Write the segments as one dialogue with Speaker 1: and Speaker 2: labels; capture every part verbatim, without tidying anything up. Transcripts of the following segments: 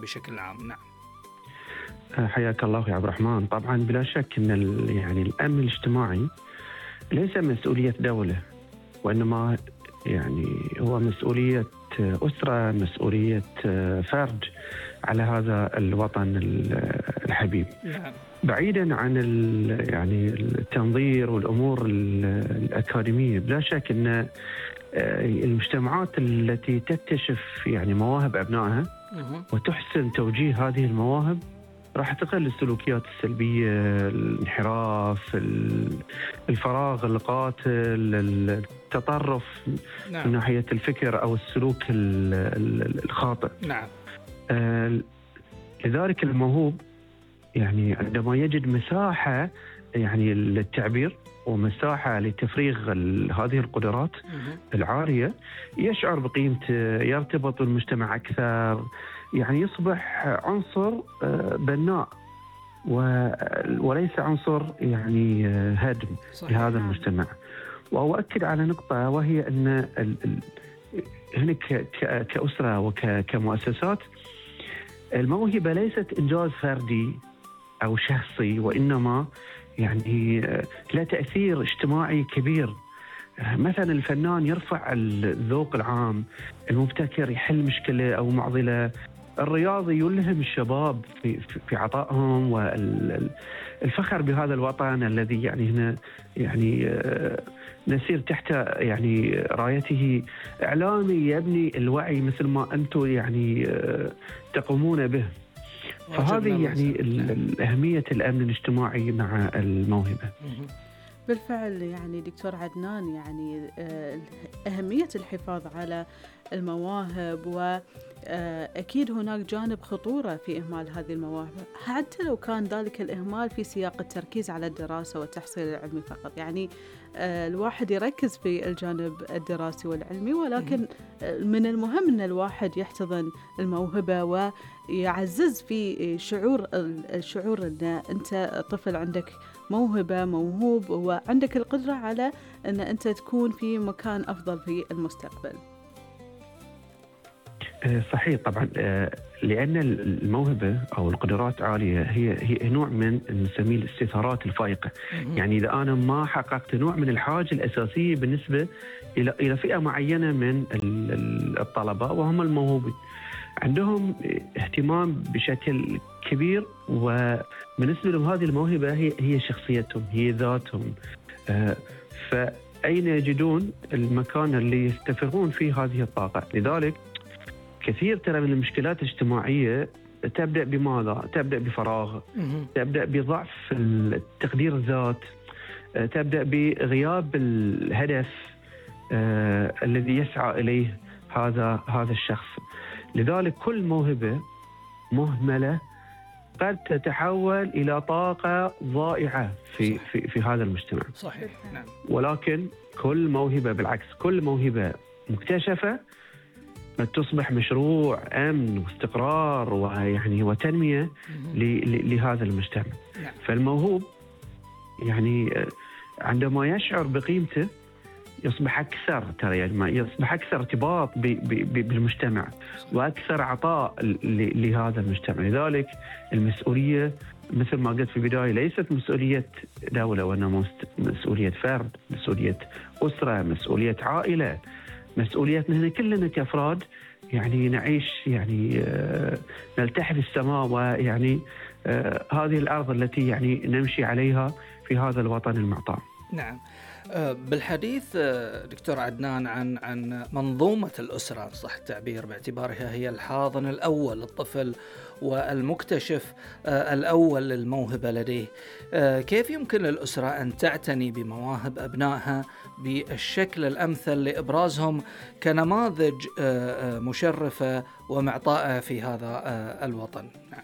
Speaker 1: بشكل عام. نعم.
Speaker 2: حياك الله يا عبد الرحمن. طبعا بلا شك ان ال- يعني الامن الاجتماعي ليس مسؤوليه دوله، وانما يعني هو مسؤوليه اسره، مسؤوليه فرد على هذا الوطن ال- الحبيب.
Speaker 1: نعم.
Speaker 2: بعيدا عن ال- يعني التنظير والامور ال- الاكاديميه، بلا شك ان المجتمعات التي تكتشف يعني مواهب ابنائها
Speaker 1: مهم.
Speaker 2: وتحسن توجيه هذه المواهب راح تقل السلوكيات السلبية، الانحراف، ال- الفراغ القاتل، التطرف من
Speaker 1: نعم.
Speaker 2: ناحية الفكر أو السلوك ال- ال- الخاطئ.
Speaker 1: نعم.
Speaker 2: آه، لذلك الموهوب يعني عندما يجد مساحة يعني للتعبير ومساحة لتفريغ ال- هذه القدرات
Speaker 1: مهم.
Speaker 2: العالية، يشعر بقيمته، يرتبط بالمجتمع أكثر، يعني يصبح عنصر آه، بناء و- وليس عنصر يعني آه، هدم
Speaker 1: صحيح.
Speaker 2: لهذا
Speaker 3: نعم.
Speaker 2: المجتمع. وأؤكد على نقطة، وهي أن ال- ال- هنا ك- ك- كأسرة وكمؤسسات، الموهبة ليست إنجاز فردي أو شخصي، وإنما يعني آه، له تأثير اجتماعي كبير. آه، مثلا الفنان يرفع الذوق العام، المبتكر يحل مشكلة أو معضلة، الرياضي يلهم الشباب في في في عطائهم، والفخر بهذا الوطن الذي يعني هنا يعني آه، نسير تحت يعني رايته، إعلامي يبني الوعي مثل ما أنتم يعني آه، تقومون به. فهذه
Speaker 1: واجبنا
Speaker 2: يعني
Speaker 1: الوطني. نعم.
Speaker 2: ال- أهمية الأمن الاجتماعي مع الموهبة.
Speaker 1: مهم.
Speaker 3: بالفعل يعني دكتور عدنان، يعني آه، أهمية الحفاظ على المواهب، وأكيد هناك جانب خطورة في إهمال هذه المواهب، حتى لو كان ذلك الإهمال في سياق التركيز على الدراسة والتحصيل العلمي فقط. يعني آه، الواحد يركز في الجانب الدراسي والعلمي، ولكن آه، من المهم أن الواحد يحتضن الموهبة ويعزز في شعور الشعور أن أنت طفل عندك موهبة، موهوب، وعندك القدرة على أن أنت تكون في مكان أفضل في المستقبل.
Speaker 2: آه، صحيح طبعا. آه، لأن الموهبة أو القدرات عالية هي هي نوع من نسميه الاستثارات الفائقة.
Speaker 1: مهم.
Speaker 2: يعني إذا أنا ما حققت نوع من الحاجة الأساسية بالنسبة إلى إلى فئة معينة من ال- ال- الطلبة، وهم الموهوبين، عندهم اهتمام بشكل كبير، وبالنسبة لهم هذه الموهبة هي هي شخصيتهم، هي ذاتهم. آه، فأين يجدون المكان اللي يستفرغون فيه هذه الطاقة؟ لذلك كثير ترى من المشكلات الاجتماعية تبدأ بماذا؟ تبدأ بفراغ،
Speaker 1: مهم.
Speaker 2: تبدأ بضعف التقدير الذات، آه، تبدأ بغياب الهدف آه، الذي يسعى إليه هذا هذا الشخص. لذلك كل موهبة مهملة قد تتحول إلى طاقة ضائعة في
Speaker 1: صح.
Speaker 2: في في هذا المجتمع.
Speaker 1: صحيح. نعم.
Speaker 2: ولكن كل موهبة بالعكس، كل موهبة مكتشفة تصبح مشروع أمن واستقرار ويعني وتنمية
Speaker 1: مهم.
Speaker 2: ل- ل- لهذا المجتمع.
Speaker 1: نعم.
Speaker 2: فالموهوب يعني آه، عندما يشعر بقيمته يصبح أكثر ترى يعني ما يصبح أكثر ارتباط ب- ب- ب- بالمجتمع، وأكثر عطاء ل- لهذا المجتمع. لذلك المسؤولية مثل ما قلت في البداية ليست مسؤولية دولة، وإنما مست- مسؤولية فرد، مسؤولية أسرة، مسؤولية عائلة، مسؤوليتنا هنا كلنا كأفراد. يعني نعيش يعني آه، نلتحف السماء، ويعني آه، هذه الأرض التي يعني نمشي عليها في هذا الوطن المعطاء.
Speaker 1: نعم. آه، بالحديث آه، دكتور عدنان عن عن منظومة الأسرة صح التعبير، باعتبارها هي الحاضن الأول للطفل والمكتشف آه، الأول للموهبة لديه، آه، كيف يمكن للأسرة أن تعتني بمواهب أبنائها بالشكل الأمثل لإبرازهم كنماذج آه، آه، مشرفة ومعطاءة في هذا آه، الوطن؟ نعم.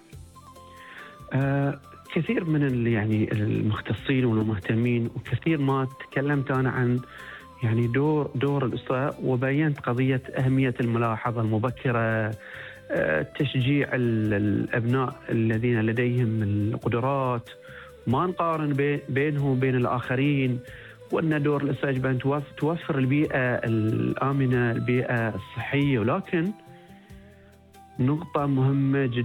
Speaker 2: آه، كثير من ال- يعني المختصين والمهتمين، وكثير ما تكلمت أنا عن يعني دور دور الأسرة، وبينت قضية أهمية الملاحظة المبكرة، آه، تشجيع ال- الأبناء الذين لديهم القدرات، ما نقارن بي- بينهم وبين الآخرين، وأن دور الأسرة يجب أن توف- توفر البيئة الآمنة، البيئة الصحية. ولكن نقطة مهمة جدا